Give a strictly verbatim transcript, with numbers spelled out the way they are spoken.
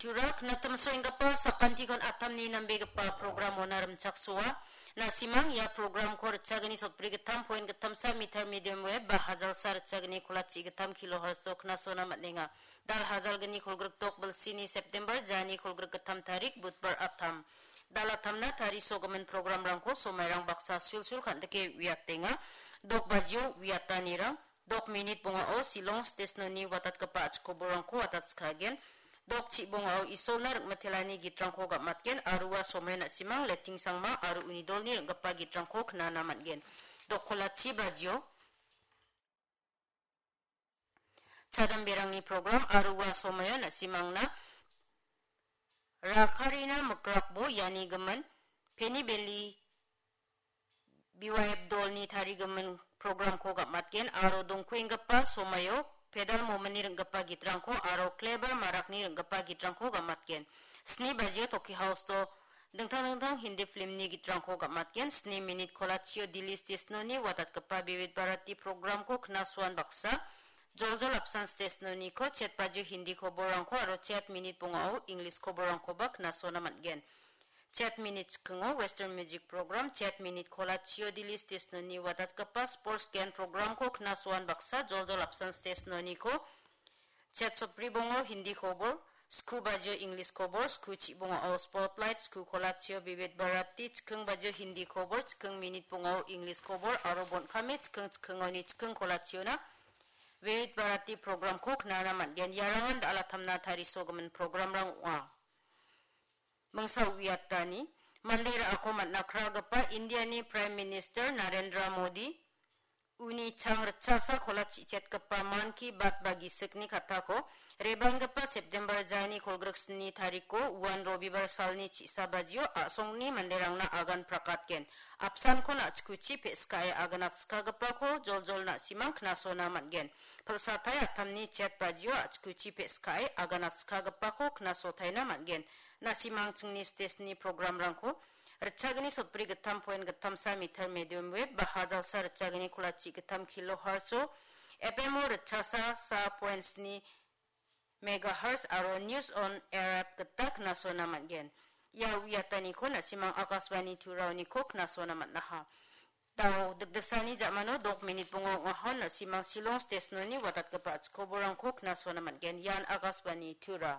Tura knatamsoenggipa sakantikon atamni nambegipa programona rimchaksoa. Na·simang ia programko ritchagni sotbri gittam point gittamsa meter medium wave ba hajalsa ritchagni kolachi gittam kilohertz-o knasona man·enga. Dal hajalgni kolgrik dok bilsini September jani kolgrik gittam tarik Budbar atam. Dal atamna tarisogimin programrangko somairang baksa sulsul kan·dike uiatenga. Dok bajio uiatanirang, dok minit bongao Shillong stesnoni watatgipa achikoborangko watatskagen. Dok chibongao Isolna ringmitelani gitrangko gam·atgen aro ua somai na·simang Leting Sangma aro uni dolni ring·gipa gitrangko knana man·gen. Dok kolachi bajio chadamberangni program aro ua somaio na·simangna Rakarina Mikrakbo iani gimin Penny Valley B Y F dolni tarigimin programko gam·atgen aro dongkuenggipa somaio Pedal Mominni ring·gipa gitrangko aro Kleber Marakni ring·gipa gitrangko gam·atgen. Sni bajio Toki House-o dingtang dingtang Hindi filmni gitrangko gam·atgen. Sni minit kolachio Delhi stesnoni watatgipa Vivid Bharati programko knasoan baksa joljol apsan stesnoniko chet bajio Hindi koborrangko aro chet minit bongao English koborrangkoba knasona man·gen. Chet minit chikingo Western Music Program, chet minit kolachio Delhi stesnoni watatgipa Sports Gen programko knasoan baksa joljol apsan stesnoniko chet sotbri bongo Hindi kobor, sku bajio English kobor, sku chibongao Spotlight, sku kolachio Vivid Bharati, chiking bajio Hindi kobor, chiking minit bongao English kobor, aro bon·kame chiking chikingoni chiking kolachiona Vivid Bharati programko knana man·gen. Iarangan dal atamna tarisogimin programrang ong·a. Mingsa uiatani, mande ra·ako man·akragipa Indiani Prime Minister Narendra Modi, uni chang ritchasa kola chi·chetgipa Mann Ki Baat ba gisikni katako, rebanggipa September jani kolgrik sni tariko, uan Robibar salni chi·sa bajio a·songni manderangna agan prakatgen. Apsankon a·chikuchi pe·skae aganatskagipako joljol na·simang knasona man·gen. Pilsatai atamni chet bajio a·chikuchi pe·skae aganatskagipako knasotaina man·gen. Na·simang chingni stesni programrangko ritchagni sotbri gittam point gittamsa meter medium wave ba hajalsa ritchagni kolachi gittam kilohertz-o, F M-o ritchasa sa point sni megahertz aro News on Air app gita knasona man·gen. Ia uiataniko na·simang Akashvani Turaoniko knasona man·aha. Dao dikdisani ja·mano dok minit bonga ong·aha, na·simang Shillong stesnoni watatgipa a·chikoborangko knasona man·gen. Ian Akashvani Tura.